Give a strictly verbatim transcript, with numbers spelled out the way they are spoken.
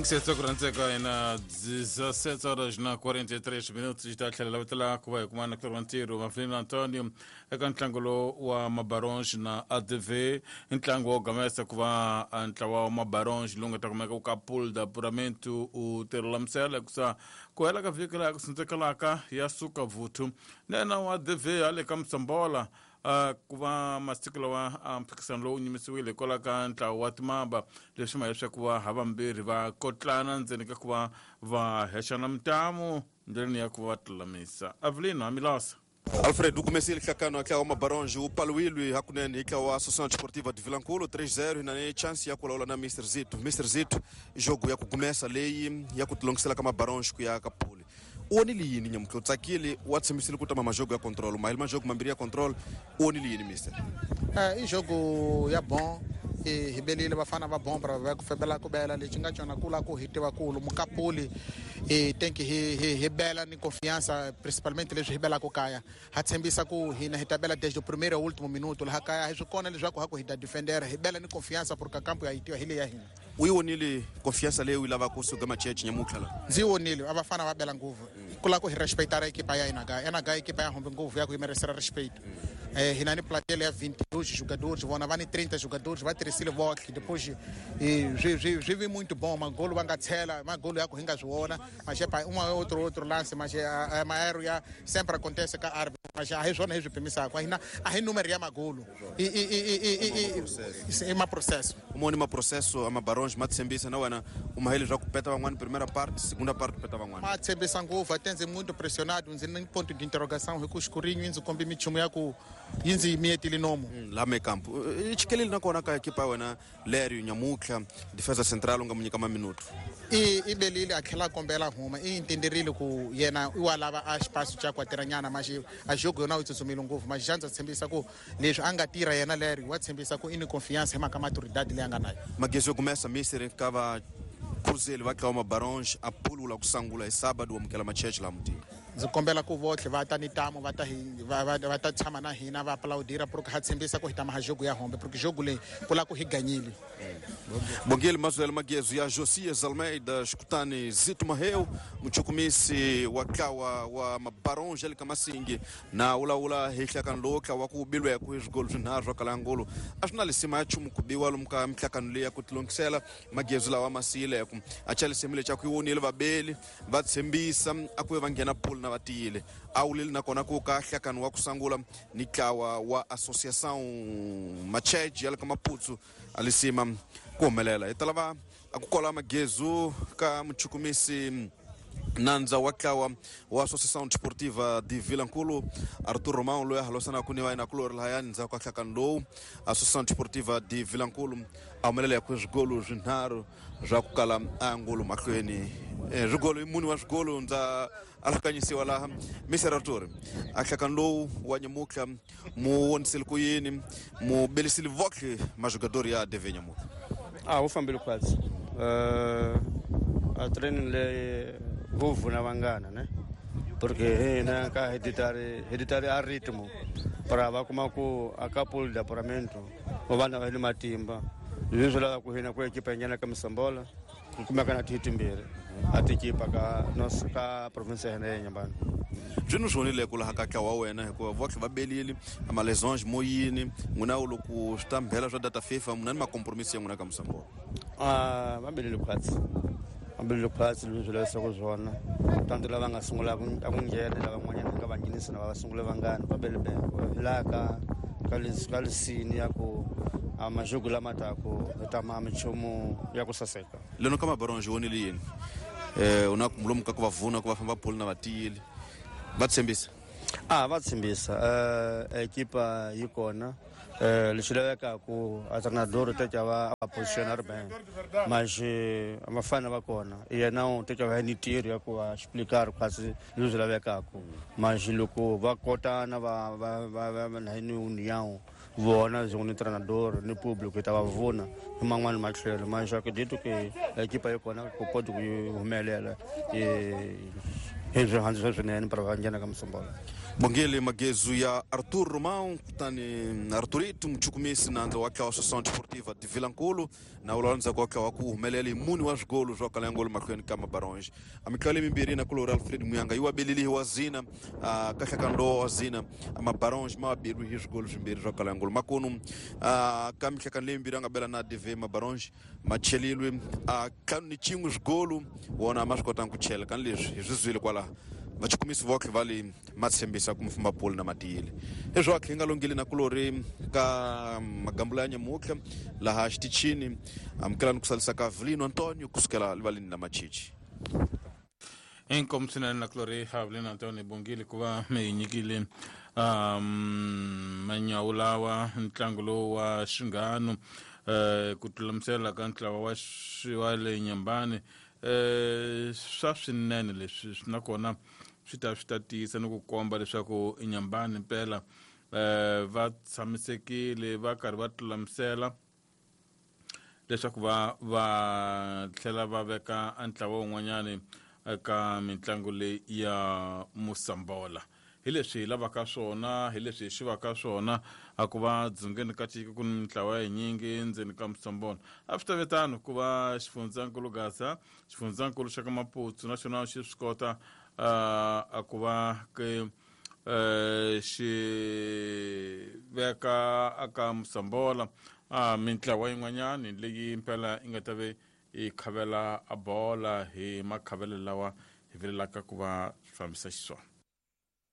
cinquenta na dezessete horas na quarenta e três minutos está tlhela ku va hi kuma na Clorantiro Maflin Antonio eka ntlangu lowu wa Mabaronge na A D V ntlangu wo gamesa ku va ntlawa wa Mabaronge lowu nga ta kumeka ka pool da apuramento u tirulamisela kusa ku hela ka vhiki laha ku sindzekelaka ya suka vuthu nena wa A D V hale ka Msambola Uh, ku va masiku lawa a mphikisano lowu nyimisiwile hikwalaho ka ntlawa wa timamba leswi ma leswaku va havambirhi va kotlana ndzeni ka ku va va hexana mintamu ndleleni ya ku va tilulamisa. Avelino Amilosa. Alfredo, comecei hlakano ntlawa wa Mabaronge u paluwile hakunene hi ntlawa wa Associação Desportiva de Vilankulo três zero na chance ya ku lawula na mister Zito. mister Zito jogo ya ku gumesa leyi ya ku tilongisela ka Mabaronge ku ya ka pole. U onile yini nyamutlha u tsakile wa tshembisile ku tama majogo ya control mahele majogo mambirhi ya control u onile yini mister? Eh, i jogo ya bon hi belile vafana va bon va ku fembela ku bela lexi nga cona kula ku hi tiva kulu mukapuli hi think hi hi hi bela ni confiança principalmente leswi hi belaka kaya ha tshembisa ku hina hi ta bela desde o primeiro ao último minuto laha kaya hi swi kona leswaku ha ku hi ta defender hi bela ni confiança porque campo ya hi tiva hi le ya hina. U yi vonile confiança leyi u yi lavaka kusuka Macheche nyamutlha la? Ndzi yi vonile a vafana va bela ngopfu ku lava ku hi respectara ekipa ya hina kaya ena kaya ekipa ya humbe ngopfu ya ku yi merecera respeito. Eh, hina ni platel ya vinte e dois jogadores vona va ni trinta jogadores va tirhisile vohle depois swi swi swi vi muito bom magolo va nga tshela magolo ya ku hi nga swi vona mas um outro outro lance mas maero ya sempre acontece ka árbitro mas a hi swona hi swi pimisaka hina a hi número ya magolo i i i i i ma processo umoni ma processo a Mabaronge ma tshembisa na wena u mahele swa ku peta van'wana primeira parte segunda parte peta van'wana ma tshembisa ngopfu até ndzi muito pressionado ndzi ni ponto de interrogação hi ku xikurinyo yi ndzi kombi minchumu ya ku yi ndzi miyetile nomu la me campo i chikeleli nakona ka ekipa ya wena Lério nyamutlha defesa central u nga mu nyika maminuto i i belile a tlhela a kombela huma i entenderile ku yena i wa lava a xipaso xa ku a tirhanyana mas a jogo yona u tsutsumile ngopfu mas xa ndza tshembisa ku leswi a nga tirha yena Lério wa tshembisa ku i ni confiança hi mhaka maturidade leyi a nga nayo. Magezo começa mister ka va Cruzeiro va ntlawa Mabaronge a pulula ku sangula hi sábado wa amukela Macheche laha mutini. Ndzi kombela ku vohle va ta ni tamu va ta hi va va va ta tshama na hina va aplaudira porque ha tshembisa ku hi ta maha jogo ya hombe porque jogo leyi ku la ku hi ganyile. Bongile Mazuel Magezo ya Josias Almeida escutani Zito Maheu muchukumisi wa ntlawa wa Mabaronge le ka Masingi na wulawula hi nhlakano lowu ntlawa ku bilweku hi swigolo swinharhu swa Kalangulu a swi na lisima ya nchumu ku biwa lomu ka mihlakano leyi ya ku tilongisela magezo lawa ma siyileku a cha lisima lexi a ku yi vonile vabeli va tshembisa a ku ve va nghena pool na va tiyile a wulile nakona ku ka nhlakano wa ku sungula ni ntlawa wa Associação Macheche ya le ka Maputsu a lisima ku humelela hi ta lava a ku kola magezo ka muchukumisi nandza wa ntlawa wa Associação Desportiva de Vilankulo Arthur Romão loyi a halosanaka ni va yena lahayani ndzhaku ka nhlakano lowu Associação Desportiva de Vilankulo a humelela ku swigolo swinharhu swa ku kala angulo mahlweni swigolo i muni wa swigolo ndza alakanyisiwa laha mister Arthur a nhlakano lowu wa nyamutlha mu vonisile ku yini mu belisile vohle majogador ya D V nyamutlha? A wu fambile khwatsi a training leyi vo vuna vangana ne porque hina ka hereditary hereditary a ritmo para va kuma ku a ka pool de apuramento va vana va ni matimba leswi lava ku hina ku ekipa yi ka Msambola ku kumeka na tihi timbirhi a tikipa ka nos ka province ya hina ya Nyambani. Byi ni swonile ku laha ka ntlawa wa wena hikuva vohle va belile a malesonge mo yini n'wina u loko swi ta mbhela swa data FIFA n'wina ni makompromisi ya n'wina ka Msambola? A va belile khwatsi va belile khwatsi leswi lavisaka swona tanto lava nga sungula ku a ku nghena lava van'wanyana nga va nghenisi na va va sungule vangani va bele bele hi laha ka ka ka lisini ya ku a majogo lama taku hi ta ma minchumu ya ku saseka. Leno ka Mabaronge vonile yini eh u na lomu ka ku va vuna ku va famba pool na va tiyile va tshembisa? A va tshembisa eh ekipa yi kona eh lexi lavekaku a treinador teka va a positionar bem mas vafana va kona yena u teka va ni ntirho ya ku va explicar quase leswi lavekaku mas loko va kotana va va va va na ni união vona ni treinador ni público ta va vona hi man'wani matlhelo mas acredito que ekipa yi kona ku pode ku humelela hi swihandzu swinene para va nghena ka Msambola. Bongele Magezu ya Arthur Romão kutani Arthurito muchukumisi nandza wa tlawa Associação Desportiva de Vilankulo na ulawanza kwa tlawa ku humelele muni wa swigolo swa kalangolo mahlweni ka Mabaronge amiklale mimbirhi na kulori Alfred Muyanga yi wabelile wa zina uh, kahlakando wa zina Mabaronge ma wabelwe hi swigolo swimbirhi swa kalangolo makunu uh, ka mihlakano leyi mimbirhi a nga bela na D V Mabaronge ma chelilwe uh, ntlhanu ni xin'we swigolo wona ma swi kotanga ku chela kani leswi hi swi zwile kwalaho vachukumisi votlhe va le ma tshembisa ku mfumba poli na matiyile leswaku hi nga longile na kulori ka magambulo ya nyamutlha laha xitichini amukelani ku salisa ka Vilino Antonio kusukela rivaleni la Machichi. Inkomu swinene na kulori Avelino Antonio Bongile ku va mi hi nyikile um manyawu lawa ntlangu lowu wa xinghano eh ku tlulamisela ka ntlawa wa wa le Nyambani eh swa swinene leswi nakona swi ta swi ta tiyisa ni ku komba leswaku Nyambani mpela eh va tshamisekile va karhi va tlulamisela leswaku va va tlhela va veka ntlawa wun'wanyani eka mitlangu leyi ya Musambola. Hi leswi hi lavaka swona, hi leswi hi xivaka swona a ku va dzongeni ka tiko ku ni mitlawa yinyingi ndzeni ka Musambola. A swi ta ve tano ku va xifundzankulu Gaza, xifundzankulu xa ka Maputo naxona xi swi kota a ku va ke xi veka aka Musambola a mintlawa yin'wanyani leyi mpela yi nga ta ve yi khavela a bola hi makhavelo lawa hi vilelaka ku va swi fambisa xiswona.